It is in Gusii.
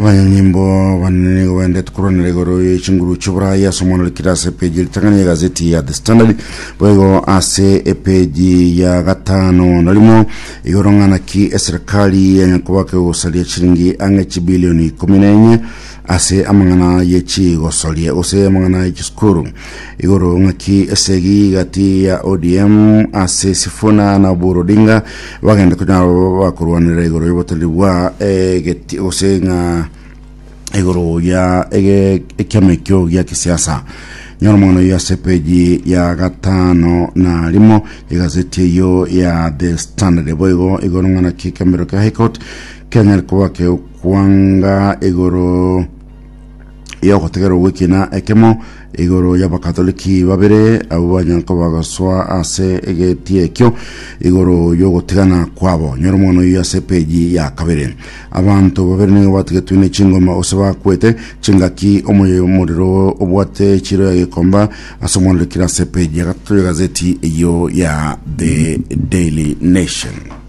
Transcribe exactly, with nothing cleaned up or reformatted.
Abanyanyimbo banene nigo baendete korwanera igoro ye chinguru chi'oborai ase omwana orikire ase epeji ritang'ani y'egazeti ya The Standard, boigo ase epeji ya gatano na rimo igoro ng'a naki eserikali ya Nyankobaka egosaria chiringi ang'e chibilioni ikomi na enye ase amang'ana ye chigosoria gose amang'ana ye chisukuru. Igoro ng'aki esegi gati ya O D M ase Sifuna na Oburu Odinga bagenda konyara bakorwanera igoro y'oboteneri bwa egeti gose ng'a igoro ya ege ekiama ekio gia kisiasa. Nyora omong'ana oyo ase peji ya gatano na rimo egazeti eyo ya The Standard. Boigo igoro ng'ana ki ekemero kia High Court kianyare koba kegokwanga igoro yogotegerwa gw'ekina ekemo igoro y'abakatoliki babere abo banyara koba bagosoa ase egeti ekio igoro y'ogotigana kwabo. Nyora omwana oyo ase epeji ya kabere. Abanto babere nigo batigetwe ne chingoma ose bakwete chingaki omoyo omorero obwate chiro ya Gikomba ase omwana orikire ase epeji ya gatato y'egazeti eyo ya The Daily Nation.